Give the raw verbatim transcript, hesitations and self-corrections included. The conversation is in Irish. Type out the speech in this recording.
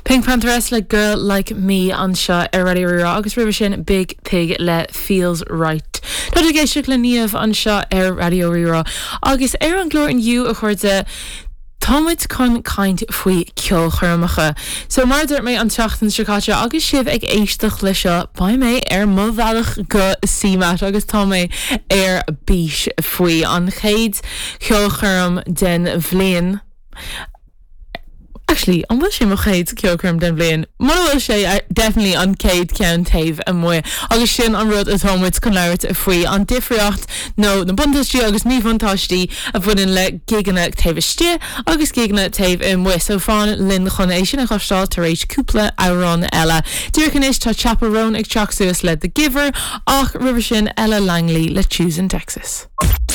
PinkPantheress le Girl Like Me anseo ar Raidió Rí-Rá agus roimhe sin Biig Thig le Feels Right. Tá ag éisteacht le Niamh anseo ar Raidió Rí-Rá agus ar an gclár inniu a chairde Táimid chun caint faoi ceolchoirmeacha. So mar dúirt mé an tseachtain seo caite agus sibh ag éisteacht le seo beidh mé ar mo bhealach go CMAT agus tá mé ar bís faoi an chéad cheolchoirm den bhliain. Actually, an bhfuil sé mo chéad ceolchoirm den bhliain. Mura bhfuil sé uh, definitely an chéad ceann taobh amuigh. agus sin an rud atáimid chun labhairt faoi an difríocht nó na buntáistí agus míbhuntáistí a bhaineann le gigeanna taobh istigh agus gigeanna taobh amuigh, so fan linn chun é sin a chloisteáil tar éis cúpla amhrán eile. Díreach anois tá Chappell Roan ag teacht suas le The Giver ach roimhe sin Ella Langley le Choosing Texas.